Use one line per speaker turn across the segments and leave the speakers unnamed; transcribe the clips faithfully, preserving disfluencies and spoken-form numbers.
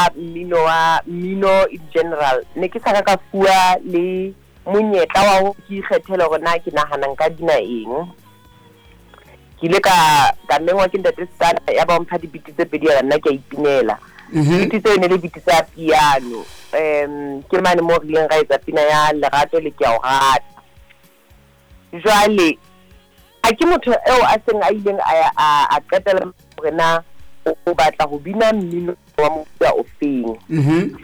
ka mmino wa mmino in general ne ke sa ka ka fuwa le monyetla wa ho ke ikgethele hore na ke nahana nka bina eng. Ke ile ka ka mengwa ke ntate Stana ya ba mpha dibiti tse pedi ya nna ke a ipinela. Dibiti tseo ne le biti tsa piano. Um ke mane mo re ileng ra etsa pina ya Lerato le Ke a o rata. Jwale a ke motho eo a seng a ileng a a a qetela hore na o batla ho bina mmino wa mofuta o feng.
Mhm.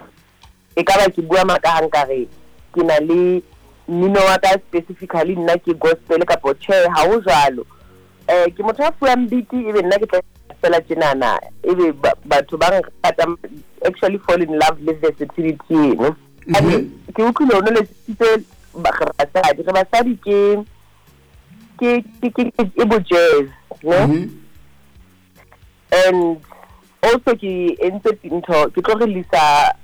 E ka ba ke bua maka ha nkare ke na le mmino wa ka specifically nna ke gospel kapa tjhe, ha ho jwalo. Eh ke motho a fuwang beat ebe nna ke tla fela tjenana ebe batho ba nrata, actually fall in love le versatility eno. Ke utlwile o no le tsitse basadi, re basadi ke ke ke ke e bo jazz, ne? And also ke entse ntho ke tlo release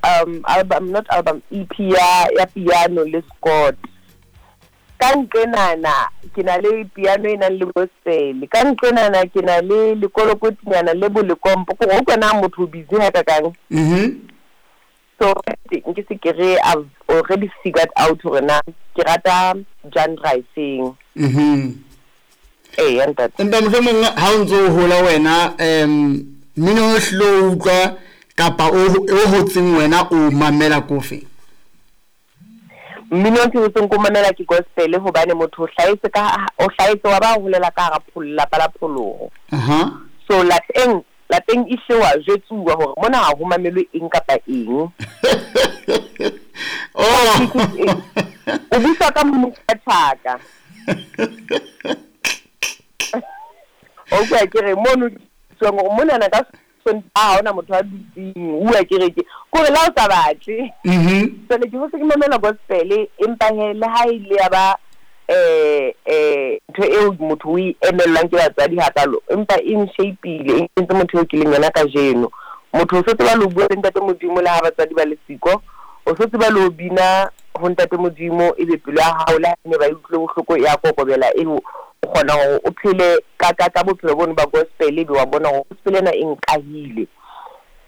um album, not album, E P ya ya piano le Scott. Ka nqenana ke na le piano e nang le gospel, ka nqenana ke na le lekolokotinyana le bolekompo, ko go kena motho o busy ha kakang.
Mhm.
So nke se ke re I've already figured out hore na ke rata genre e feng.
Mhm.
Eh, ntate.
Empa mohlomong ha o ntso hola wena em mmino o hlilo utlwa kapa o o hotseng wena o mamela kofe?
Mmino o ke hotseng ko mamela ke gospel hobane motho o hlahetse ka o hlahetse wa ba holela ka hara pholo lapa la pholoho.
Aha.
So lapeng lapeng e hle wa jwetsuwa hore mona ha ho mamelwe eng kapa eng.
Oh.
O busa ka mokgatshaka. O kwa ke re mono tswang hore mona na ka Sontaha ha hona motho a dutseng, o bua ke re ke kore la o sa batle.
Mhm.
Jwale ke hotse ke mamela gospel empa he le ha ile ya ba eh eh ntho eo motho o e emellang ke batswadi hakalo, empa e nshapeile, e entse motho eo ke leng yena kajeno. Motho o so tseba le ho bua le ntate Modimo le ha batswadi ba le siko, o so tseba le ho bina ho ntate Modimo ebe pelo ya hao le ha ne ba utlwile bohloko ya kokobela eo o kgona hore o phele ka ka ka bophelo bono ba gospel ebe wa bona hore gospel ena e nkahile.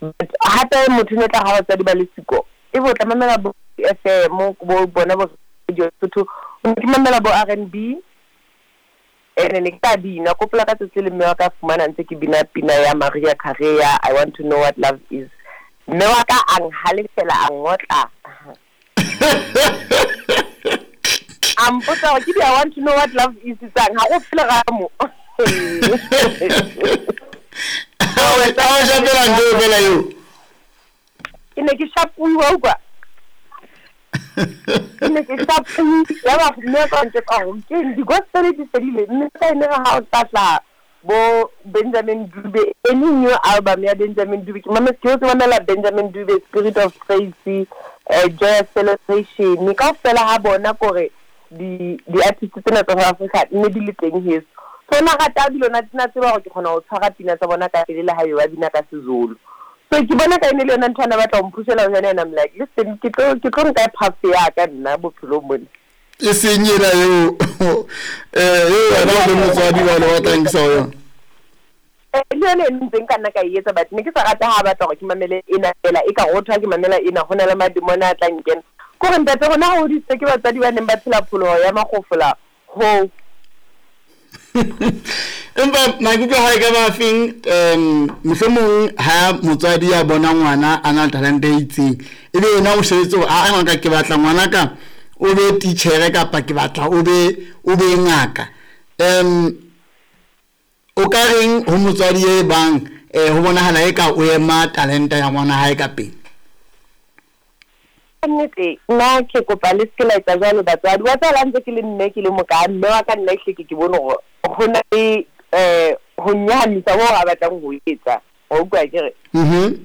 But hape motho ne tla ha batswadi ba le siko ebe o tla mamela bo F M bo bona bo Radio Sotho, o ke mamela bo R and B ene ne ke tla bina kopola ka tsatsi le mme wa ka fumana ntse ke bina pina ya Maria Carey ya I Want to Know What Love Is. Mme wa ka a nhalefela a ngotla. A mpotsa hore ke di I want to know what love is tsang ha go phele ga mo.
Ha o shapela ntho fela eo.
Ke ne ke shapuwa utlwa. Ke ne ke shapuwa ya ba mme ka ntse ka hore ke di gospel di fedile mme ka ene ha o tla bo Benjamin Dube, any new album ya Benjamin Dube ke mamela ke mamela Benjamin Dube Spirit of Praise, eh Joyous Celebration ka fela ha bona kore di di artist tsena tsa South Africa ne di le teng heso. So na rata dilo na tsena tseba hore ke kgona ho tshwara pina tsa bona ka pele le ha ba bina ka Sezulu. So ke bona ka ene le yona ntho ana batla ho mphushela ho yona, and I'm like listen ke tlo ke tlo nka path ya ka nna bophelong mona.
E seng ena eo eh eo wena o le motswadi wa le wa tla nkisa ho yona.
Eh le yona e ntseng ka nna ka e etsa, but ne ke sa rata ha batla hore ke mamele ena fela e ka rothwa ke mamela ena ho na le mademona a tla nkena. Kore ntate rona ha hodisitswe ke batswadi ba neng ba phela pholoho ya makgofola ho.
Empa maikutlo a hae ka ba feng um mohlomong ha motswadi a bona ngwana a na le talente e itseng ebe yena o shebetse hore a ngwana ke batla ngwana ka o be titjhere kapa ke batla o be o be ngaka. Um o ka reng ho motswadi e bang eh ho bonahala e ka o ema talente ya ngwana hae ka pele?
Nnete nna ke kopa le se la etsa jwalo batswadi. Wa tseba ntse ke le mme ke le moka mme wa ka nna ehle ke ke bone hore ho na le eh ho nyahamisa ho a batlang ho etsa. O utlwa ke re?
Mhm.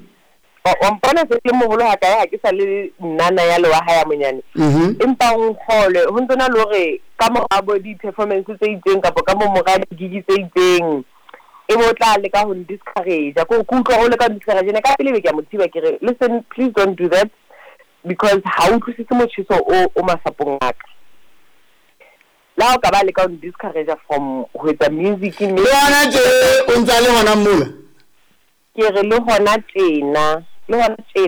O mpona se ke moholo ha kae ha ke sa le nnana ya le wa hae ya monyane.
Mhm.
Empa o nkgolwe ho ntse na le hore ka mora bo di-performance tse itseng kapa ka mo mora di-gig tse itseng e bo tla leka ho discourage. Ko ke utlwa ho leka ho discourage ne ka pele be ke a mo thiba ke re listen please don't do that because ha o utlwisise motjheso o o masapong a ka. La o ka ba leka ho discourage from ho etsa music mme
le hona tje o ntsa le hona mola.
Ke re le hona tjena, le hona tjena.